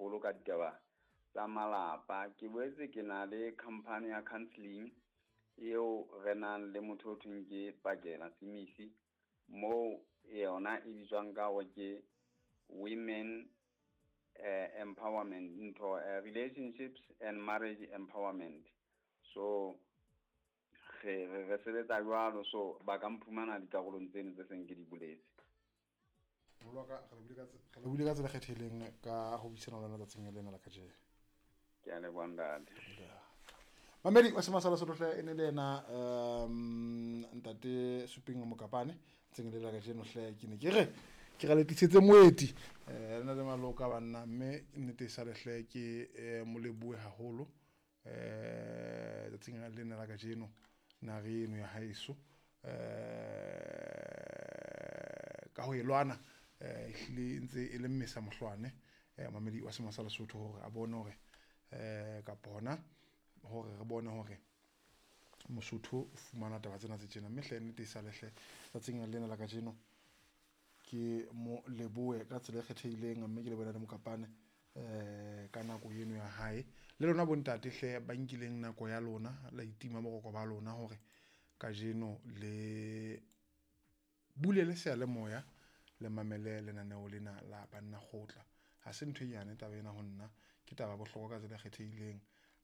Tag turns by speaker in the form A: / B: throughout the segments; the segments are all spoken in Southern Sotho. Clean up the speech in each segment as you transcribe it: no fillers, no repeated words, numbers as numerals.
A: haholo ka ditaba tsa malapa. Ke boetse ke na le company ya counseling eo re nang le motho o thweng ke Pakela Simisi, moo yona e bitswang ka hore ke women empowerment, ntho relationships and marriage empowerment. So re sebetsa jwalo, so ba ka mphumana dikarolong tseno tse seng ke di boletse.
B: Moholo wa ka, re lebohile ka tsela e kgethehileng ka ho buisana le wena tsatsing lena la kajeno.
A: Ke a leboha ntate.
B: Mamedi wa Sema sa Lesotho hle, e ne le yena ntate Suping Mokapane ntseng le la kajeno hle. Ke ne ke re ke ra le tlisetse moeti, le na le maloka banna, mme nnete e sale hle ke mo lebohe haholo tsatsing lena la kajeno, nare eno ya haeso ka ho e lwana, ehlile e ntse e le mmesa mohlwane, mamedi wa Sema sa Lesotho, hore a bone hore kapa hona hore re bone hore Mosotho o fumana taba tsena tse tjena. Mme hle nnete e sale hle tsatsing lena la kajeno ke mo lebohe ka tsela e kgethehileng, mme ke lebohe le Mokapane ka nako eno ya hae. Le lona bontate hle ba nkileng nako ya lona, la itima boroko ba lona hore kajeno le bulele seyalemoya le mamele lenaneo lena la Banna Kgotla. Ha se ntho e nyane taba ena ho nna, ke taba ya bohlokwa ka tsela e kgethehileng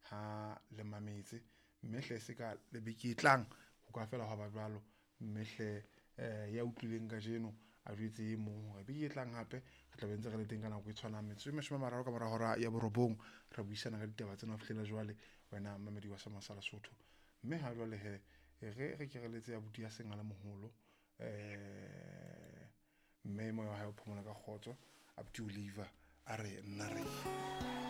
B: ha le mametse. Mme hle se ka le beke e tlang ho ka fela hwa ba jwalo. Mme hle ya utlwileng kajeno a jwetse e mong hore beke e tlang hape re tla be ntse re le teng ka nako e tshwanang, metsotso e 30 ka mora hora ya 9, re buisana ka ditaba tsena ho fihlela jwale, wena mamedi wa Sema sa Lesotho. Mme ha jwale he re ke re letse abuti ya seng a le moholo, mme moya wa hae o phomola ka kgotso, abuti Oliver a re nna re.